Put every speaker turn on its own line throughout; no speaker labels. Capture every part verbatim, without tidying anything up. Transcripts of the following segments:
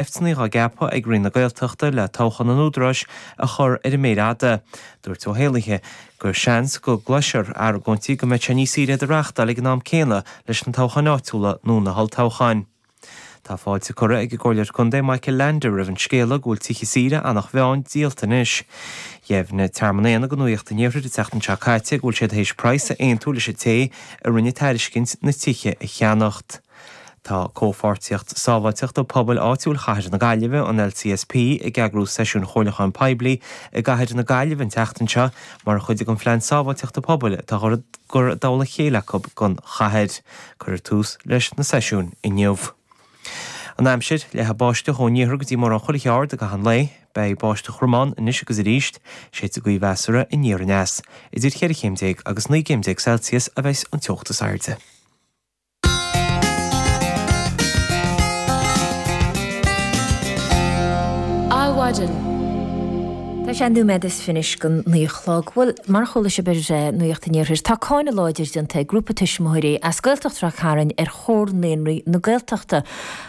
Seifteanna á gceapadh ag Roinn na Gaeltachta le toghchán an Údaráis a chur ar an méar fhada. Dúirt Ó hÉallaithe gur seans go gcloisfear argóintí go mbeidh sé níos saoire iad a reáchtáil ag an am céanna leis na toghcháin áitiúla nó na holltoghcháin. Tá fáilte curtha ag an gComhairleoir Contae Michael Leander roimh an scéala go bhfuil tithe saoire Eanach Mheáin díolta anois. Dheimhnigh Tearmann Éanna do Nuacht an Iarthair an tseachtain seo caite go bhfuil siad théis praghas a aontú leis an té a rinne tairiscint na tithe a cheannacht. Tá comhpháirtíocht sábháilteachta pobail áitiúil chathair na Gaillimhe an LCSP ag eagrú seisiún comhairliúcháin poiblí i gcathair na Gaillimhe an tseachtain seo mar chuid den phlean sábháilteachta pobail atá á chur i dtoll a chéile acu don chathair. Cuirfear tús leis na seisiúin inniu. An aimsir leathfaidh báisteach ón iarthar go dtí mórán chuile cheard i gcaitheamh an lae, beidh báisteach throm ann anois agus arís, séidfidh gaoth mheasartha aniar aneas. Idir cheithre chéim déag agus naoi gcéim déag Celsius a bheidh an teocht is airde.
Adhmhaidin.
Tá sé nóiméad is fiche go naoi a chlog. Bhuel, mar a chuala sibh ar Nuacht an Iarthair, tá cáineadh láidir déanta ag grúpa tuismitheoirí as Gaeltacht Ráth Cairn ar Chomhar Naíonraí na Gaeltachta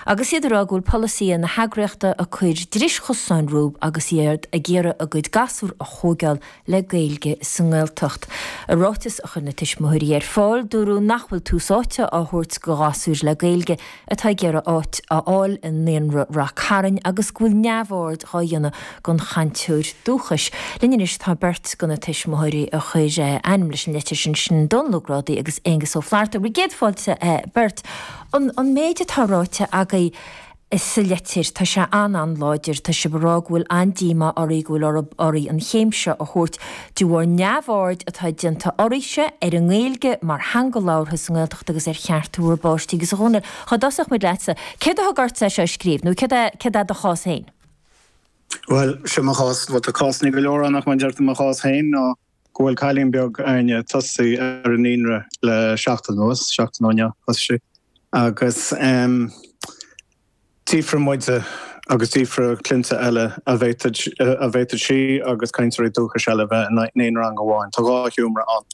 agus iad ag rá go bhfuil polasaithe na heagraíochta ag cur dris chosáin rompu agus iad ag iarraidh a gcuid gasúr a thógáil le Gaeilge sa nGaeltacht. I ráiteas a chuir na tuismitheoirí ar fáil, dúradh nach bhfuil tús áite á thabhairt do ghasúir le Gaeilge atá ag iarraidh áit a fháil i naíonra Ráth Cairn agus go bhfuil neamhaird á dhéanamh den chainteoir dúchais. Linn anois tá beirt de na tuismitheoirí a chuir ainm leis an leitir sin sin Dónal Ó Grádaigh agus Aengus Ó Flatharta. Bhur gcéad fáilte beirt. An, an méid atá ráite agaibh sa leitir, tá sé an-an-láidir, tá sibh ag rá go bhfuil an-díomá oraibh go bhfuil oraibh an chéim seo a thabhairt de bharr neamhaird atá déanta oraibhse ar an nGaeilge mar theanga labhartha sa nGaeltacht agus ar chearta bhur bpáistí agus a Dhónaill, dá dtosódh muid leatsa, céard a thug ortsa é seo a scríobh nó céard é, céard é do chás féin?
Bhuel, seo mo chás, bhuel tá cásanna go leor ann ach mar a deir tú mo chás féin ná go bhfuil cailín beag againne tosaithe ar an naíonra le seachtain anuas, seachtain ó inniu thosaigh sí, agus ehm d'fhiafraigh muide agus d'fhiafraigh cliantha eile an bhféadfadh an bhféadfadh sí agus cainteoirí dúchais eile bheith in aon rang amháin. Tá dhá sheomra ann.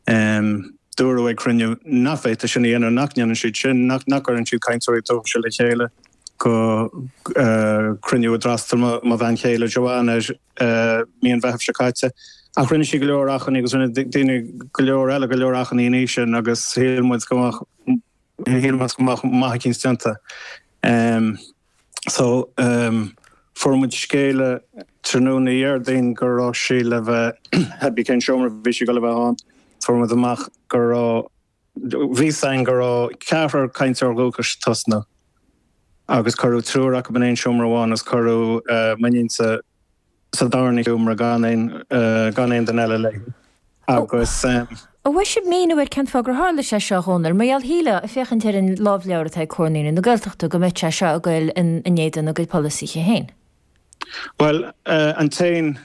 Ehm dúradh ag cruinniú nach bhféadfaí sin a dhéanamh, nach ndéanann siad sin, nach nach gcuireann siad cainteoirí dúchais le chéile. go cruinniú a d'fhreastail mo bhean chéile Joanne air mí an Mheithimh seo caite. Ach rinne sí go leor achainí agus rinne daoine go leor eile go leor achainí ina dhiaidh sin agus shíl muid go mbeadh shíl muid go mbeadh maith eicínt déanta. So fuair muid scéala tráthnóna Dhéardaoin go raibh sí le bheith, cibé cén seomra a bhí sí ag dul a bheith ann, fuair muid amach go raibh Bhí a fhios againn go raibh ceathrar cainteoir dúchais ag tosnú agus cuireadh triúr acu in aon seomra amháin agus cuireadh m'iníonsa sa darna sheomra gan aon gan aon duine eile léi agus.
An bhfuair sibh míniú ar cén fáth gur tharla sé seo, a Dhónaill? Mar gheall, shílfeá, ag féachaint ar an lámhleabhar atá ag Comhar Naíonraí na Gaeltachta, go mbeadh sé seo ag goil in éadan a gcuid polasaithe féin.
Bhuel, an t-aon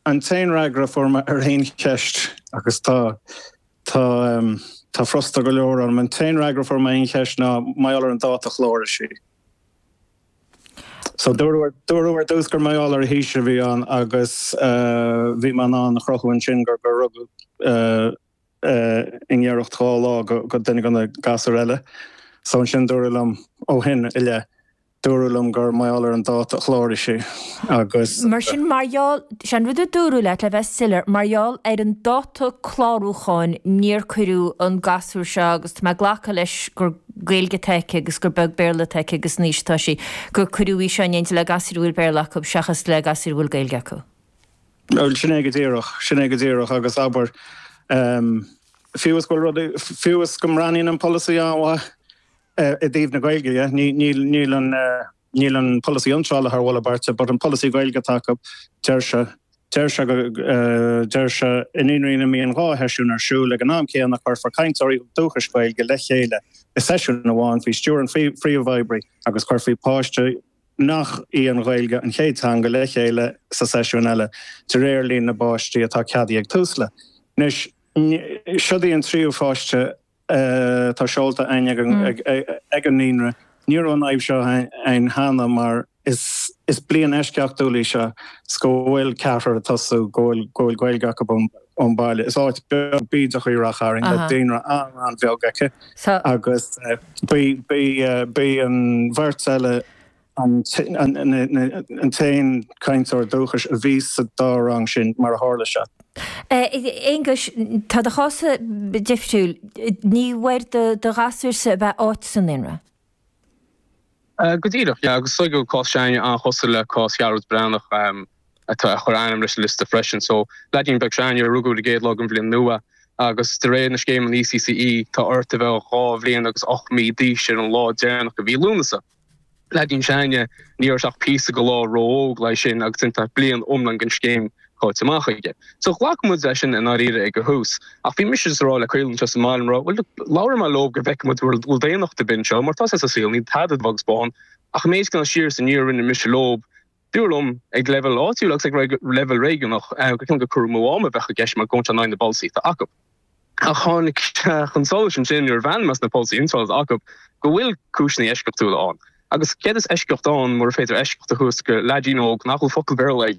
An t-aon fhreagra a fuair mé ar aon cheist, agus tá, tá, tá frusta go leor orm, an t-aon fhreagra a fuair mé ar aon cheist ná mar gheall ar an dáta chláraigh sí. So dúradh, dúradh ar dtús gur mar gheall ar a haois a bhí ann agus bhí mé in ann a chruthú ansin gur, gur rugadh i ngiorracht dhá lá go duine de na gasúir eile. So ansin dúradh liom ó shin i leith Dúradh liom gur mar gheall ar an dáta a chláraigh sí agus.
Mar sin, mar gheall, sé an rud a dúradh leat, le bheith soiléir, mar gheall ar an dáta clárúcháin níor cuireadh an gasúr seo, agus tá mé ag glacadh leis gur Gaeilge atá aici agus gur beag Béarla atá aici agus an aois atá sí, gur cuireadh í seo in éindí le gasúir a bhfuil Béarla acu seachas le gasúir a bhfuil Gaeilge acu.
Bhuel, sin é go díreach, sin é go díreach agus abair, fiú is go bhfuil rudaí, fiú is go mbreathnaíonn an polasaí an-mhaith, I dtaobh na Gaeilge dhe, níl an níl an polasaí iontrála thar mholadh beirte, but an polasaí Gaeilge atá acu, deir sé, deir sé go, deir sé i naíonraí ina mbíonn dhá sheisiún ar siúl ag an am céanna cuirfear cainteoirí dúchais Gaeilge le chéile i seisiún amháin faoi stiúir an phríomhoibrí agus cuirfí páiste nach í an Ghaeilge an chéad teanga le chéile sa seisiún eile de réir líon na bpáistí atá ceadaithe ag Tusla. Anois, siod í an tríú pháiste atá seolta againn ag an naíonra. Ní raibh an fhadhb seo ann cheana mar is is bliain eisceachtúil í seo 's go bhfuil ceathrar ag tosú go bhfuil go bhfuil Gaeilge acu ón baile. Is áit beag bídeach í Ráth Chairn le daonra an-an-bheag aici agus bhí bhí bhí an bheirt eile an t-aon cainteoir dúchais a bhí sa dá rang sin mar a tharla sé.
Aonghus, tá do chás difriúil. Ní bhfuair do ghasúrsa a bheith áit sa naíonra?
Go díreach, yeah, agus so cás s'againne an-chosúil le cás Ghearóid Breathnach atá a chuir ainm leis an liosta freisin. So leaidín beag s'againne a rugadh an chéad lá den bhliain nua agus de réir na scéime an E C C E tá ort a bheith dhá bhliain agus ocht mí d'aois ar an lá deireanach de mhí Lúnasa. Leaidín s'againne ní raibh sé ach píosa go leor ró-óg leis sin agus tá bliain iomlán den scéim caite amach aige. So ghlac muid leis sin i ndáiríre ag an tús. Ach bhí mise ag rá le Caolan sa mbaile rá, well labhair mé leo go bhfeicfidh muid bhfuil daonnacht ar bith anseo, mar tá sé sa saol ní tada agus bán, ach méid gan siar san níor rinne mise leo dúradh liom ag leibhéal áitiúil agus ag leibhéal réigiúnach go ceann go cur mó am a bheith i gceist mar gón na polasaí acu. Ach tháinig chun solais ansin nuair a bhain mé na polasaí iontrála acu go bhfuil cúiseanna eisceachtúla ann. Agus céard is eisceacht ann mura féidir eisceacht a thabhairt go leaidín óg nach bhfuil focal Béarla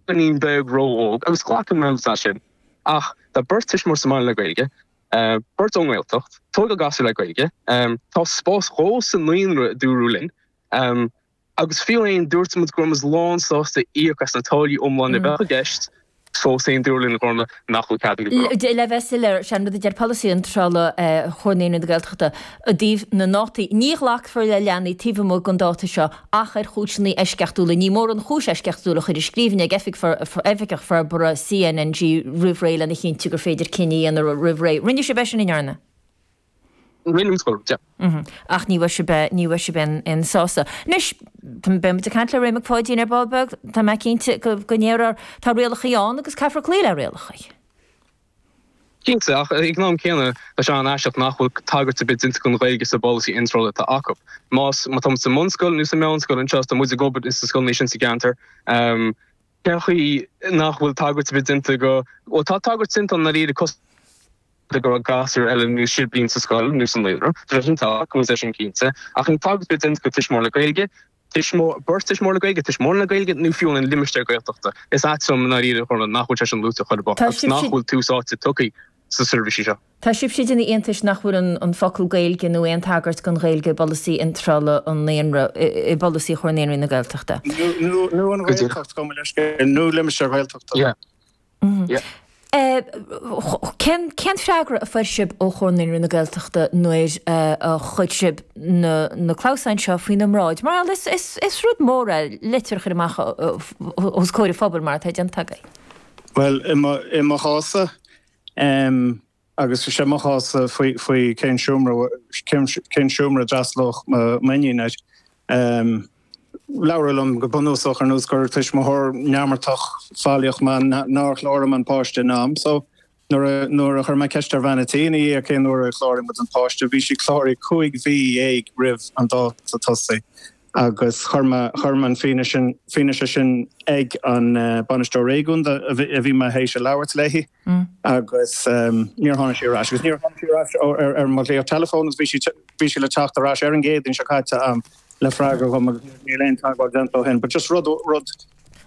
beagáinín beag ró-óg agus glacann mé sin. Ach tá beirt tuismitheoir sa mbaile le Gaeilge, uh, beirt ón nGaeltacht, tógáil gasúr le Gaeilge, um, tá spás dhó sa naíonra dúradh linn, um, agus fiú amháin dúirt muid go raibh muid lánsásta íoc as na táillí iomlán a bheadh i gceist, fós féin dúradh linn gorna nach bhfuil cead
Le bheith soiléir sé an rud a deir polasaí iontrála Chomhar Naíonraí na Gaeltachta i dtaobh na ndátaí. Ní ghlacfar le leanaí taobh amuigh den dáta seo ach ar chúiseanna eisceachtúla. Ní mór an chúis eisceachtúil a chur i scríbhinn ag Oifigeach Forbartha C N N G roimh ré lena chinntiú gur féidir cinneadh a dhéanamh roimh ré. Rinne sibh é sin an ndearna?
Rinne yeah.
Mhm. Ach ní bhfuair sibh ní bhfuair sibh aon sásamh. Anois beimid ag caint le Ray Mac Pháidín ar ball beag, tá mé cinnte go ndéarfar tá rialacha ann agus caithfear cloí le rialacha.
Cinnte ach ag an am céanna tá sé an-aisteach nach bhfuil tagairt ar bith déanta don Ghaeilge sa bpolasaí iontrála atá acu. Más má tá sa mbunscoil nó sa meánscoil anseo tá muid ag obair is sa scoil sin sa gceantar. Um, Cén nach bhfuil tagairt ar bith déanta go ó tá tagairt déanta an na cos go gasúr eile nó siblín sa scoil nó san naíonra sin tá go sin cinnte ach an tagairt ar bith déanta go tuismitheoir le Gaeilge beirt tuismitheoir le Gaeilge tuismitheoir le Gaeilge nó fiú an limistéar Gaeltachta. Is ait liom ná nach bhfuil sé sin luaite chun nach bhfuil tús áite tugtha sa seirbhísí seo.
Tá sibh ina iontas nach bhfuil an, an focal Gaeilge nó aon tagairt don Ghaeilge i bpolasaí iontrála an naíonra i bpolasaí Chomhar Naíonraí na Gaeltachta.
Nó an Ghaeltacht go nó limistéar Gaeltachta.
Cén cén freagra a fuair sibh ó Chomhar Naíonraí na Gaeltachta nuair a chuir sibh na, na clamhsáin seo faoina mbráid. Mar is, is, is rud mór é litir a chur amach os comhair an phobail mar atá déanta agaibh.
Well i mo chás-sa um, agus sé mo chás faoi faoi cén seomra cén seomra a d'fhreastalódh m'iníon air. Um, Labhradh liom go bunúsach ar nós gur tuismitheoir neamartach faillíoch mé nár chláraigh an páiste in am, so nuair nuair a chuir mé ceist ar bhean an tí í cén uair a chláraigh muid an páiste, bhí sí cláraithe cúig mhí dhéag roimh an dáta tosaigh agus chuir mé chuir mé an fianaise sin ag an uh, bainisteoir réigiúnach a bhí mé théis a labhairt léi mm. agus um, níor tháinig sí ar ais agus níor tháinig sí ar ais ar ar mo ghlaoch telefón bhí sí bhí sí le teacht ar ais ar an gCéadaoin seo caite um, le freagra dhom níl aon teagmháil déanta ó shin, but just rud rud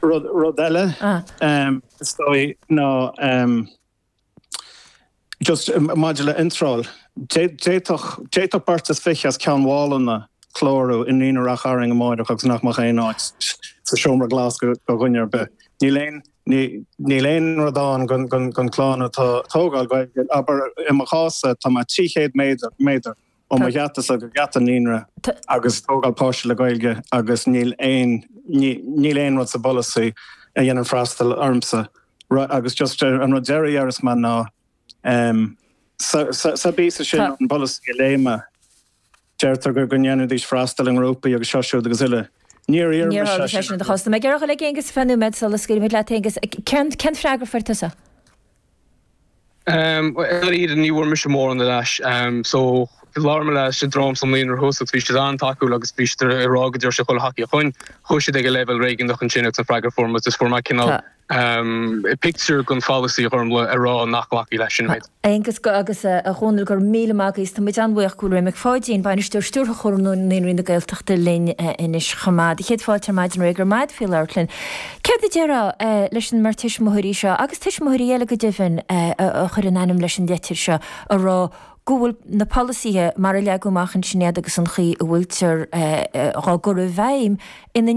rud rud eile ah. um, is dóigh ná um, just maidir le iontráil d'fhéadfadh beirt is fiche as Ceann Mhálanna clárú i naíonra Ráth Chairn amárach agus nach mbeadh aon áit sa seomra glas go dhuine ar bith. Níl aon níl aon rud ann don chlann atá tógáil Gaeilge abair i mo chás tá mé trí chéad méadar ó mo gheata go geata naíonra agus tógáil páiste le Gaeilge agus níl aon níl aon rud sa bpolasaí a dhéanann freastal ormsa agus just an rud deiridh ar is man ná um, sa, sa, sa bí sin an polasaí léime deirtear gur go ndéanfaidís freastal i ngrúpaí agus seo siúd agus uile. Níor
iarr sin do chás mé ag le Aonghus fiche nóiméad sula scaoilfidh leat Aonghus cén cén freagra a fuair tusa?
Um, ní bhfuair mise mórán ar ais um, so labhair mé leis an dream san naíonra thuas bhí siad an-tacúil agus bhí siad ag rá go dtabharfaidh siad chuile thacaíocht chugainn chuaigh siad ag an leibhéal réigiúnach ansin agus an freagra fuair muid is fuair mé cineál um, pictiúr den pholasaí chormla a rá nach nglacfaí leis sin méid.
Aonghus go agus a Dhónaill go raibh míle maith agat tá muid an-bhuíoch go raibh Mac Pháidín bainisteoir stiúrtha Chomhar Naíonraí na Gaeltachta linn anois chomh maith. Chéad fáilte ar maidin ré gur maid faoi labhairt linn. Céard a déarfá leis an mbeirt tuismitheoirí seo agus tuismitheoirí eile go deimhin a chuir a n-ainm leis an leitir seo a rá go bhfuil na polasaithe mar a leagadh amach ansin iad agus an chaoi a bhfuiltear á gcur i bhfeidhm ina